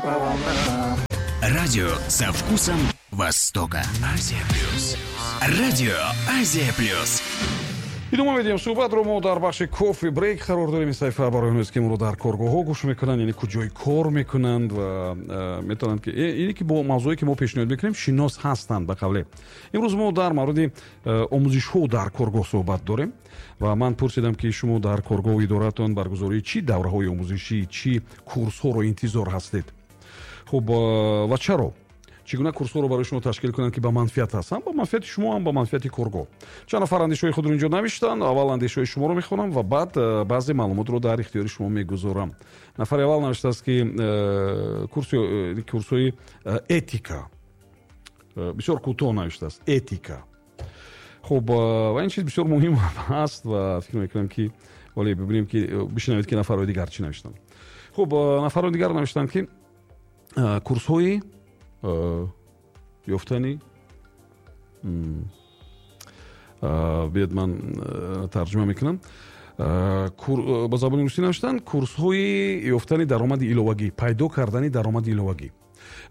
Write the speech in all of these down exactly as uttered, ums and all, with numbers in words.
Волна. Радио со вкусом Востока. Азия Плюс. Радио Азия Плюс. Идома медиҳем суҳбатро. Мо дар бахши кофе брейк қарор дорем. Ин саҳифа барои онҳоест, ки моро дар коргоҳҳо гӯш мекунанд, яъне куҷои кор мекунанд ва э, метавонанд ки э, ине ки бо мавзӯе, ки мо пешниҳод мекунем, шинос ҳастанд. Ба қавле, имрӯз мо дар мавриди э, омӯзишҳо дар коргоҳ суҳбат дорем ва ман пурсидам, ки шумо дар коргоҳу идораатон баргузории чӣ давраҳои омӯзишӣ, чӣ курсҳоро интизор ҳастед. Хуб, ва чаро, чӣ гуна курсҳоро барои шумо ташкил кунанд, ки ба манфиат аст, ҳам ба манфиати шумо, ҳам ба манфиати коргоҳ. Чанд нафар андешаҳои худро инҷо навиштанд. Аввал андешаҳои шуморо мехонам ва баъд э, баъзе маълумотро дар ихтиёри шумо мегузорам. Нафари аввал навиштааст, ки э, э, курсҳои этика. Бисёр кӯтоҳ навиштааст: этика. Хуб, ва ин чиз бисёр муҳим аст ва фикр мекунам, ки вале бибинем, ки бишнавед, ки нафарҳои дигар чӣ навиштанд. Хуб, нафарҳои дигар навиштанд, ки курсҳои ёфтани, биёд, ман тарҷума мекунам, ба забони русӣ навиштанд: курсҳои ёфтани даромади иловагӣ, пайдо кардани даромади иловагӣ.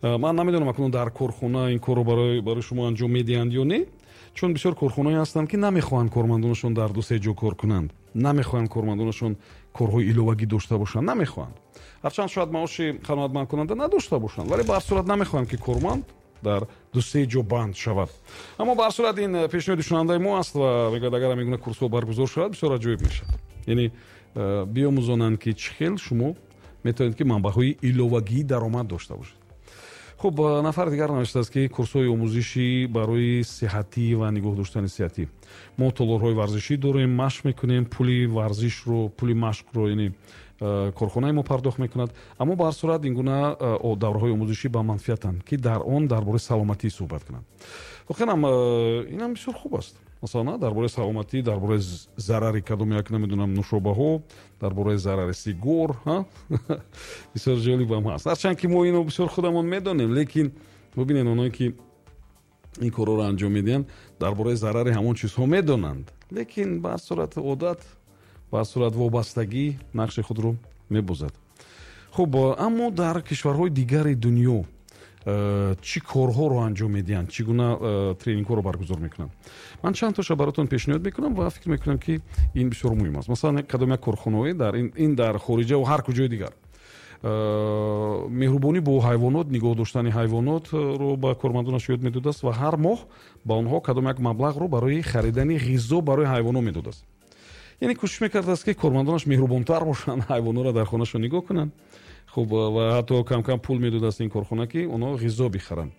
Ман намедонам, акнун дар корхона ин корро барои шумо анҷом медиҳанд ё не, чун бисёр корхонаҳое ҳастанд, ки намехоҳанд кормандонашон дар ду се ҷо кор кунанд, намехоҳанд кормандонашон корҳои иловагӣ дошта бошанд, намехоҳанд. Ҳарчанд шояд маоши қаноатмандкунанда надошта бошанд, вале ба ҳар сурат намехоҳанд, ки корманд дар дусе ҷо банд шавад. Аммо ба ҳар сурат ин пешниҳоди шунавандаи мо аст ва мегӯяд, агар ҳамин гуна курсҳо баргузор шавад, бисёр аҷоиб мешавад, яъне э, биомӯзонанд, ки чӣ хел шумо метавонед, ки манбаъҳои иловагии даромад дошта бошед. Хуб, нафари дигар навиштааст, ки курсҳои омӯзишӣ барои сиҳатӣ ва нигоҳ доштани сиҳатӣ. Мо толорҳои варзишӣ дорем, машқ мекунем, пули варзишро, пули машқро, яъне э, корхонаи мо пардохт мекунад. Аммо ба ҳар сурат ин гуна э, давраҳои омӯзишӣ ба манфиатанд, ки дар он дар бораи саломатӣ суҳбат кунанд. Воқеан э, инам бисёр хуб аст. Масалан, дар бораи саломатӣ, дар бораи зарари кадом як, намедонам, нушобаҳо, дар бораи зарари сигор. Бисёр ҷолибам ҳаст, ҳарчанд ки мо ино бисёр худамон медонем, лекин бубинед, оное ки ин корҳоро анҷом медиҳанд, дар бораи зарари ҳамон чизҳо медонанд, лекин ба ҳар сурат одат, ба ҳар сурат вобастагӣ нақши худро мебозад. Хуб, аммо дар кишварҳои дигари дунё э, чӣ корҳоро анҷом медиҳанд, чӣ гуна э, тренингҳоро баргузор мекунанд, ман чанд тоша баротон пешниҳод мекунам ва фикр мекунам, ки ин бисёр муҳим аст. Масалан, кадом як корхонаҳое дар ин дар хориҷа ва ҳар куҷои дигар э, меҳрубонӣ бо ҳайвонот, нигоҳ доштани ҳайвонотро ба кормандонаш ёд медодааст ва ҳар моҳ ба онҳо кадом як маблағро барои харидани ғизо барои ҳайвонот медодааст. Яъне кӯшиш мекардааст, ки кормандонаш меҳрубонтар бошанд, ҳайвонотро дар хонашон нигоҳ кунанд. Хуб, ва ҳатто камкам пул медодааст ин корхона, ки онҳо ғизо бихаранд.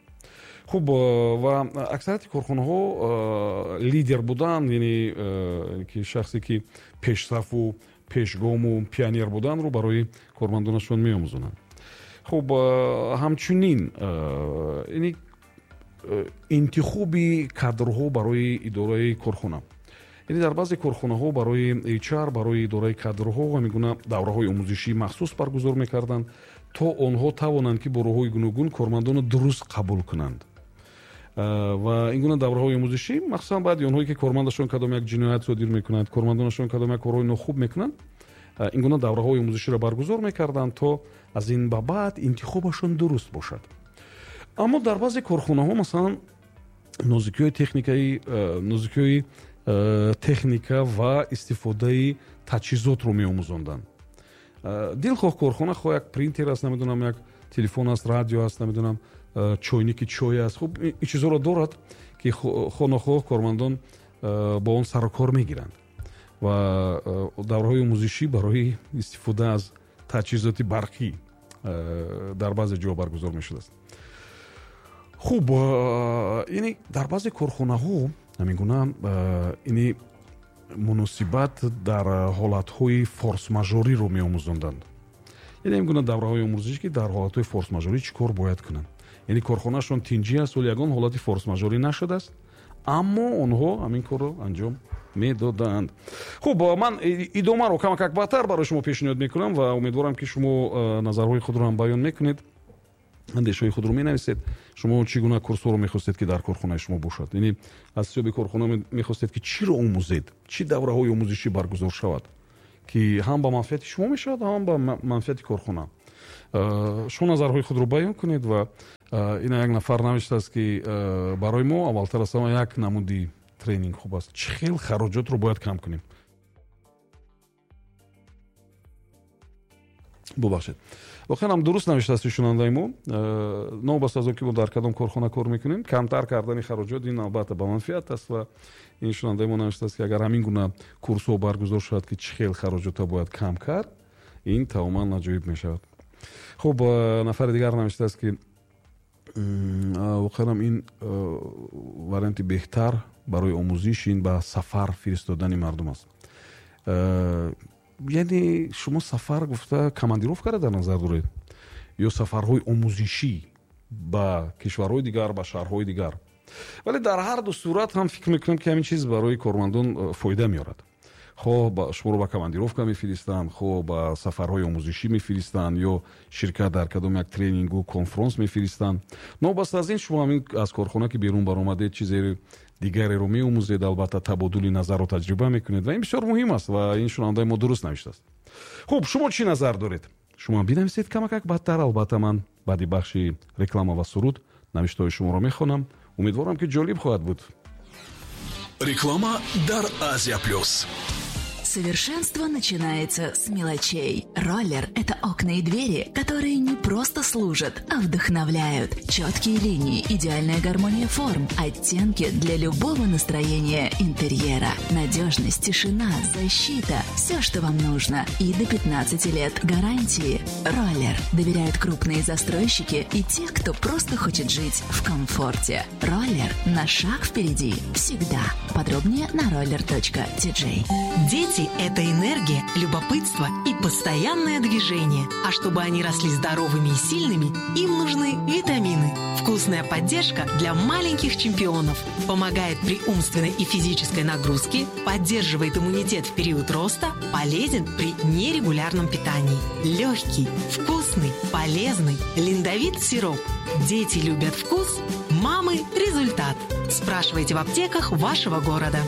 Хуб, ва аксарияти корхонаҳо лидер будан, яъне ки шахсе ки пешсафу пешгому пионер буданро барои кормандонашон меомӯзонанд. Хуб, ҳамчунин яъне интихоби кадрҳо барои идораи корхона, яъне дар баъзе корхонаҳо барои H R, барои идораи кадрҳо ҳамин гуна давраҳои омӯзишии махсус баргузор мекарданд, то онҳо тавонанд, ки бо роҳҳои гуногун кормандонро дуруст қабул кунанд. Ва ин гуна давраҳои омӯзишӣ махсусан баъди онҳое ки кормандашон кадом як ҷиноят содир мекунанд, кормандонашон кадом як корҳои нохуб мекунанд, ин гуна давраҳои омӯзиширо баргузор мекарданд, то аз ин ба баъд интихобашон дуруст бошад. Аммо дар баъзе корхонаҳо, масалан, нозикиҳои техникаи нозикиҳои техника ва истифодаи таҷҳизотро меомӯзонданд. Дилхоҳ корхона, хоҳ як принтер аст, намедонам, як телефон аст, радио аст, намедонам, чойники чой аст. Хуб, ин чизҳоро дорад, ки хоҳ нохоҳ кормандон бо он сарукор мегиранд ва давраҳои омӯзишӣ барои истифода аз таҷҳизоти барқӣ дар баъзе ҷо баргузор мешудааст. Хуб, яъне дар баъзе корхонаҳо ҳамин гуна ини муносибат дар ҳолатҳои форс-мажориро меомӯзонданд, яъне ҳамин гуна давраҳои омӯзишӣ, ки дар ҳолатҳои форс-мажорӣ чӣ кор бояд кунанд. Яъне корхонаашон тинҷӣ аст, вале ягон ҳолати форс-мажорӣ нашудааст, аммо онҳо ҳамин корро анҷом медоданд. Хуб, ман идомаро камакак баъдтар барои шумо пешниҳод мекунам ва умедворам, ки шумо назарҳои худро ҳам баён мекунед, андешаҳои худро менависед. Шумо чӣ гуна курсҳоро мехостед, ки дар корхонаи шумо бошад? Яъне аз ҳисоби корхона мехостед, ки чиро омӯзед, чӣ давраҳои омӯзишӣ баргузор шавад, ки ҳам ба манфиати шумо мешавад, ҳам ба манфиати корхона. Шумо назарҳои худро баён кунед ва ина як нафар навиштааст, ки барои мо аввалтар аз ҳама як намуди тренинг хуб аст. Чӣ хел хароҷотро бояд кам кунем? Бубахшед. Воқеан ҳам дуруст навиштааст шунандаи мо. Новобаста аз он ки мо дар кадом корхона кор мекунем, камтар кардани хароҷот ин албатта ба манфиат аст ва ин шунандаи мо навиштааст, ки агар ҳамин гуна курсҳо баргузор шавад, ки чӣ хел хароҷотро бояд кам кард, ин тамоман аҷоиб мешавад. Хуб, нафари дигар навиштааст, ки воқеан ҳам ин варианти беҳтар барои омӯзиш ин ба сафар фиристодани мардум аст. Яъне шумо сафар гуфта командировкаро дар назар доред ё сафарҳои омӯзишӣ ба кишварҳои дигар, ба шаҳрҳои дигар? Вале дар ҳар ду сурат ҳам фикр мекунам, ки ҳамин чиз барои кормандон фоида меорад. Хоҳ шуморо ба командировка мефиристанд, хоҳ ба сафарҳои омӯзишӣ мефиристанд ё ширкат дар кадом як тренингу конфронс мефиристанд. Новобаста аз ин шумо ҳамин аз корхона ки берун баромадед, чизе дигареро меомӯзед, албатта табодули назарро таҷриба мекунед ва ин бисёр муҳим аст ва ин шунавандаи мо дуруст навиштааст. Хуб, шумо чӣ назар доред? Шумо бинависед камакак бадтар. Албатта ман баъди бахши реклама ва суруд навиштаҳои шуморо мехонам. Умедворам, ки ҷолиб хоҳад буд. Реклама дар Азия Плюс. Совершенство начинается с мелочей. Роллер – это окна и двери, которые не просто служат, а вдохновляют. Четкие линии, идеальная гармония форм, оттенки для любого настроения интерьера. Надежность, тишина, защита – все, что вам нужно. И до пятнадцати лет гарантии. Роллер доверяют крупные застройщики и те, кто просто хочет жить в комфорте. Роллер на шаг впереди всегда. Подробнее на роллер точка ти джей. Дети – это энергия, любопытство и постоянное движение. А чтобы они росли здоровыми и сильными, им нужны витамины. Вкусная поддержка для маленьких чемпионов. Помогает при умственной и физической нагрузке, поддерживает иммунитет в период роста, полезен при нерегулярном питании. Легкий, вкусный, полезный Линдовит сироп. Дети любят вкус, мамы – результат. Спрашивайте в аптеках вашего города.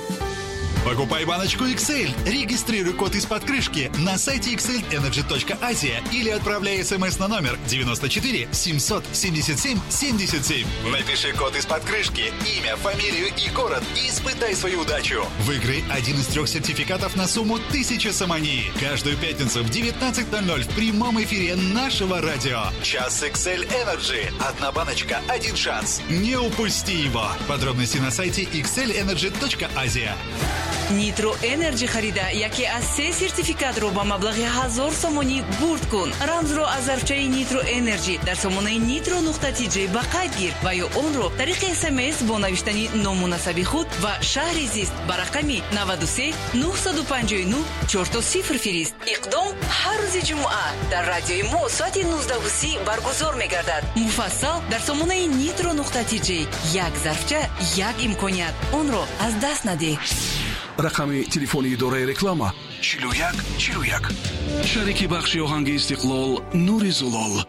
Покупай баночку икс эль, регистрируй код из-под крышки на сайте икс эль энерджи точка азия или отправляй смс на номер девяносто четыре семьсот семьдесят семь семьдесят семь. Напиши код из-под крышки, имя, фамилию и город и испытай свою удачу. Выиграй один из трех сертификатов на сумму тысяча сомони. Каждую пятницу в девятнадцать ноль ноль в прямом эфире нашего радио. Час икс эль Energy. Одна баночка, один шанс. Не упусти его. Подробности на сайте икс эль энерджи точка азия. Нитро Энерджи харида яке аз се сертификатро ба маблағи ҳазор сомонӣ бурд кун. Рамзро аз зарфчаи Нитро Энерджи дар сомонаи нитро нуқта ти джей ба қайд гир ва ё онро тариқи СМС бо навиштани ному насаби худ ва шаҳри зист ба рақами наваду се нуҳсаду панҷоҳу нуҳ чорто сифр фирист. Иқдом ҳар рӯзи ҷумъа дар радиои мо соати нуздаҳу си баргузор мегардад. Муфассал дар сомонаи нитро нуқта ти джей. Як зарфча, як имконият. Онро аз даст надеҳ. Рақами телефони идораи реклама чилу як чилу як. Шарики бахши оҳанги Истиқлол Нури Зулол.